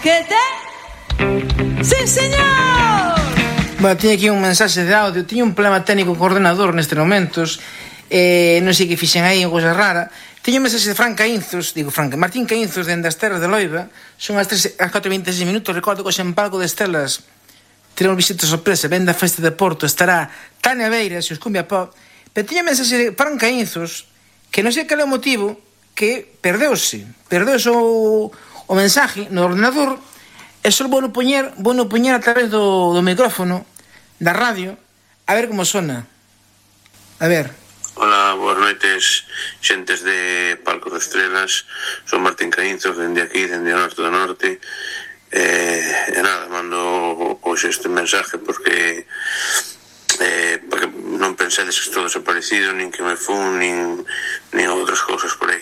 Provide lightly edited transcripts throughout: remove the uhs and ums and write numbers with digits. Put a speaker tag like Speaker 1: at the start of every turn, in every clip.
Speaker 1: Que te? Sí, señor.
Speaker 2: Bueno, tiña aquí un mensaxe de audio. Tiña un problema técnico co ordenador nestes momentos. Non sei que fixen aí, unha cosa rara. Tiña un mensaxe de Martín Caínzos, dende as terras de Loiba. Son as 4:26 minutos. Recordo que hoxe en Palco de Estelas teremos visita sorpresa. Ven da festa de Porto. Estará Tania Beira, se os cumbia pop. Pero tiña un mensaxe de Fran Caínzos, que non sei cal é o motivo, que perdeuse o mensaje no ordenador, e só vou no poñer a través do micrófono da radio, a ver como sona. A ver.
Speaker 3: Hola, boas noites, xentes de Palco de Estrelas. Son Martín Caínzos, dende aquí, dende o norte do norte. E nada, mando hoxe este mensaje porque non pensedes que estou desaparecido, nin que me fun, nin outras cousas por aí.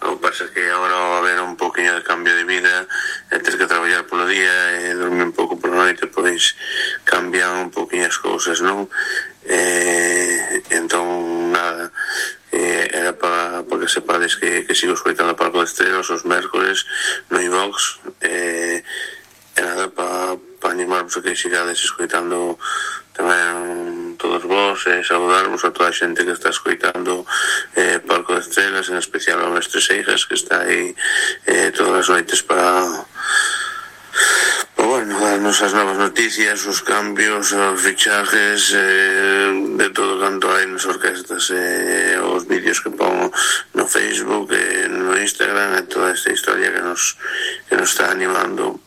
Speaker 3: O que pasa é que agora va a haber un poquinho de cambio de vida, e ter que traballar polo día e dormir un pouco por noite, pois cambian un poquinho as cousas, non? Entón, nada, era para que sepades que sigo escoitando Palco de Estrelas os mércores no iVox, e nada, para animarvos a que sigades escoitando tamén todos vos, e saudarvos a toda a xente que está escoitando Palco de Estrelas, en especial ao mestre Seijas, que está aí todas as noites para darnos as novas noticias, os cambios, os fichajes, de todo canto hai nas orquestas, os vídeos que pongo no Facebook, no Instagram, e toda esta historia que nos está animando,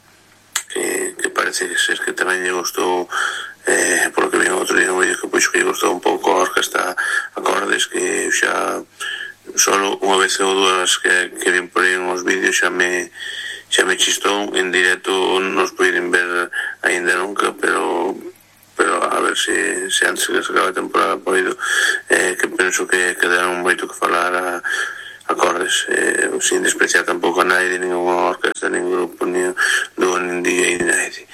Speaker 3: que parece ser que tamén lle gustou, polo que vi outro día un vídeo que pois que lle gustou un pouco a orquesta Acordes, que xa solo unha vez ou dúas que vin por aí uns vídeos xa me chistou. En directo nos poden ver aínda nunca, pero a ver se antes que se acabe a temporada poido, que penso que deran moito que falar a Acordes, sin despreciar tampouco a naide, ninguna orquesta, nin grupo, nin dúo, nin DJ, nin naide.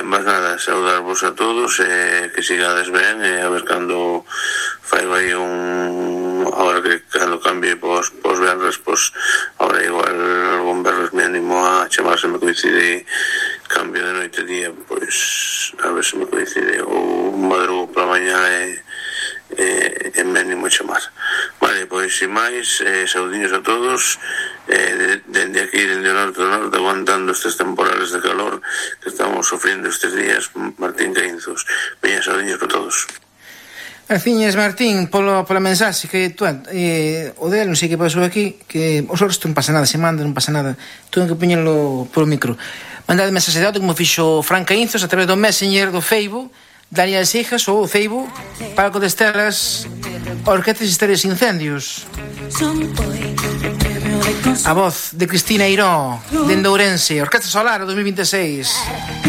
Speaker 3: Mas nada, saudarvos a todos, que sigades ben, a ver cando faigo aí agora que cando cambie pos berres, pos agora igual algún berres me animo a chamar, se me coincide cambio de noite día, pois a ver se me coincide ou madrugo pola mañá e me animo a chamar. Vale, pois sin máis, saudiños a todos, dende aquí, dende o norte do norte, aguantando estes temporales de calor que estamos sofriendo estes días. Martín Caínzos, veña, saudiños para todos.
Speaker 2: Graciñas, Martín, pola mensaxe que tú, o del, non sei que pasou aquí, que os outros non pasa nada, se manda, non pasa nada, tuve que poñelo polo micro. Mandade mensaxe de auto como fixo Fran Caínzos a través do Messenger do Facebook, Daniel Seijas, ou o Facebook Palco de Estelas, Orquestas Historias Incendios. A voz de Cristina Eiró, dende Ourense, Orquesta Solar 2026.